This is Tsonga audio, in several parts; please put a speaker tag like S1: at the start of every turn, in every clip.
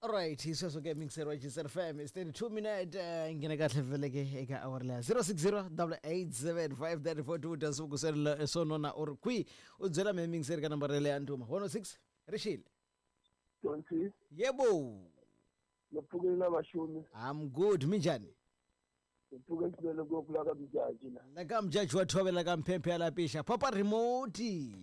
S1: Alright, hi sweswo ke mixer wa Gisel FM is 32 minute nghena kahle vele ke eka hour leya 060 887 dya siku swo nona u ri kwihi u byela mehe mixer ka nambara leya ndhuma 106 rixile.
S2: 20.
S1: Yebo.
S2: Ngipfukile na vaxumi.
S1: I'm good, minjhani?
S2: Ngipfuke swinene ngopfu la ka Mjaji la.
S1: La ka Mjaji wa thovela ka mphemphe ya lapixa papa remote.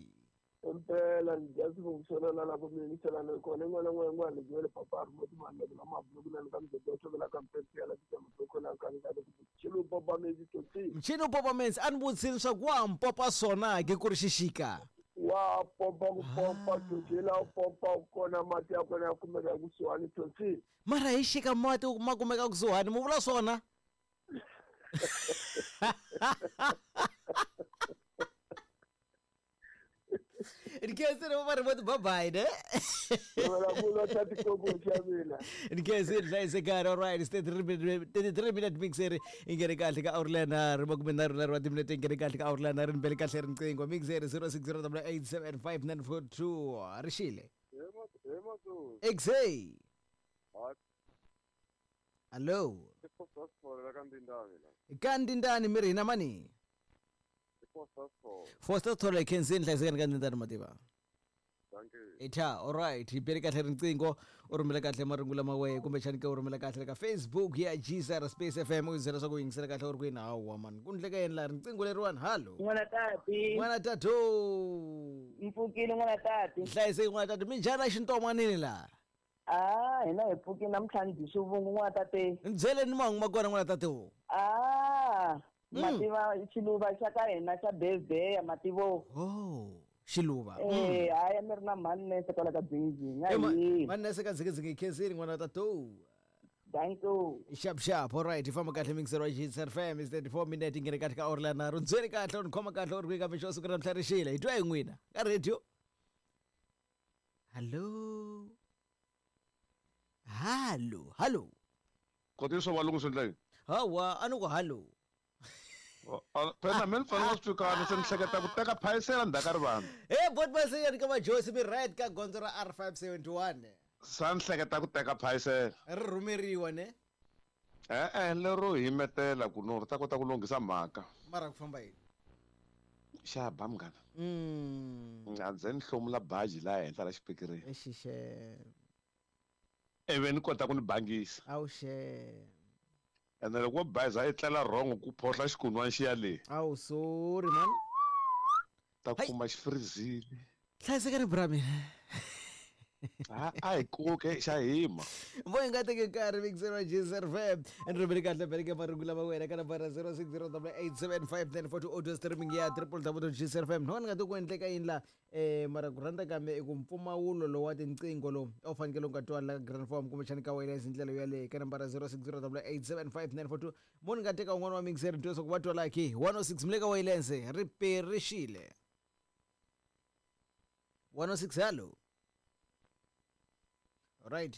S2: Impela ni dya swivungiselo la ku mi yingiselana kona yin'wana na yin'wana ni byele papa remote mani la mabuluku na ka Mjaji wa thovela ka mphemphe ya lapixa mabuluku na ka ka Mchini popa menzi totsi.
S1: Mchini popa menzi a ni vutisini swa ku wa ha mpopa swona ke ku ri xixika.
S2: Wa pompa ku pompa totsi la u pompa kona mati ya kona ya kumeka kusuhani totsi.
S1: Mara hi xika mati ma kumeka kusuhani mu vula swona? Ndikhensile va remote bye bye ne. Ndikhensile hlayisekani all right 33 minute mixer i nghene kahle ka hour leya nharhu makume nharhu nharhu wa timinete i nghene kahle ka hour leya nharhu ni bele kahle riqingho mixer 0608875942 rixile. Exay. Hello. Ka Ndindani mi ri hina mani? Foster Thole khensini hlayisekani ka Ndindani mativa. Itha, alright, hi bele kahle riqingho u rhumela kahle marungu lama wehe kumbexani ke u rhumela kahle ka Facebook ya GSR Space FM u byela swa ku yingisela kahle u ri kwini hawa man ku ndleka yini laha riqingho leriwani hallo.
S3: N'wana tati.
S1: N'wana tatu.
S3: Mpfukile n'wana tati.
S1: Hlayiseki n'wana tatu minjhani a xintomwanini laha?
S3: Ah, hina hi pfukile namuntlha ni dyi xivungu n'wana tate.
S1: Ni byeleni mahungu ma kona n'wana tate wo.
S3: Ah, mativa xiluva xa ka hina xa bebeya mativo.
S1: Oh, xiluva.
S3: Eh, haya mi ri na mhani nese kwala ka dzingidzingi. A hi.
S1: Mhani nese ka dzingidzingi khensini n'wana tate.
S3: Thank you.
S1: Sharp sharp, all right. Ifamba kahle mixer wa Hits FM is 34 minute ingene kahle ka hour nharhu. Ndzweni kahle u ni khoma kahle u ri ka mixo siku ra namuntlha rixile. Hi twa hi n'wina ka radio. Hello. Hallo, hallo.
S4: Koti swa valungu swi endla yini?
S1: Hawa, a ni ku hallo.
S4: Phela mina ni fanele swi twikana se ni hleketa ku teka phayisela ndzhaku ka rivanti.
S1: He bot masenya ka majosi mi right ka gondzo ra R571.
S4: Sa ni hleketa ku teka phayisela.
S1: Ri rhumeriwa ne?
S4: E-e, lero himetela ku no ri ta kota ku lunghisa mhaka.
S1: Mara ku famba yini?
S4: Xa ba munghana. A ndze ni hlomula baji laha henhla la xipikirini.
S1: Exixe.
S4: Ivi ni kota ku ni bangisa.
S1: Awuxe.
S4: Ene loko wo bayiza i tlela wrong ku phohla xikunwani xi ya le.
S1: Awu sorry man.
S4: Ta kuma xi freezile.
S1: Hlayisekani bra mina.
S4: A a hi koke xa hima.
S1: Vo hi nga teki nkarhi mixer wa Gzer FM. And rhumeli kahle bele ke marungu lama wena ka nambara 0608875942 audio streaming ya www.gzrfm. No ni nga ti ku endleka yini la mara ku rhandza ka me i ku mpfumawulo lowu wa tinqingho lowu a wu fanekele u nga twali la ka Grand Form kumbexani ka wireless hi ndlela yoyaleyo ka nambara 0608875942. Mo ni nga teka un'wana wa mixer ni twa leswaku va twala ki 106 mi le ka wireless ri perixile. 106 hello. Right.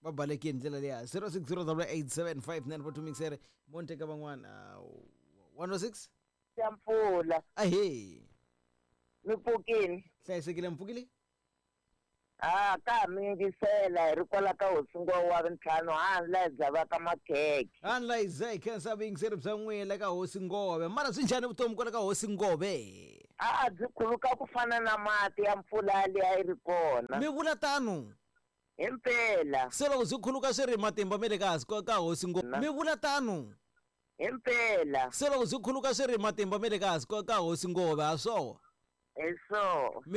S1: Va balekile ndlela leya 0608875942 mixer mo ni teka van'wana 106
S3: Ya mpfula.
S1: Ahee.
S3: Mi pfukile?
S1: Hlayisekile mi pfukile?
S3: Ah, ka ha mi yingisela hi ri kwala ka hosi Ngwawa wa vuntlhanu hani la hi dzavaka makhekhe.
S1: Hani la hi za hi khensa vuyingiseri bya n'wina la ka hosi Ngove. Mara swi njhani vutomi kwala ka hosi Ngove?
S3: A byi khuluka ku fana na mati ya mpfula yaliya a yi ri kona.
S1: Mi vula tano?
S3: Himpela.
S1: Se loko byi khuluka swi ri matimba me le ka ka hosi Ngove. Mi vula tano?
S3: Himpela.
S1: Se loko byi khuluka swi ri matimba me le ka ka hosi Ngove, ha swoho?
S3: Hi swoho.
S1: Mi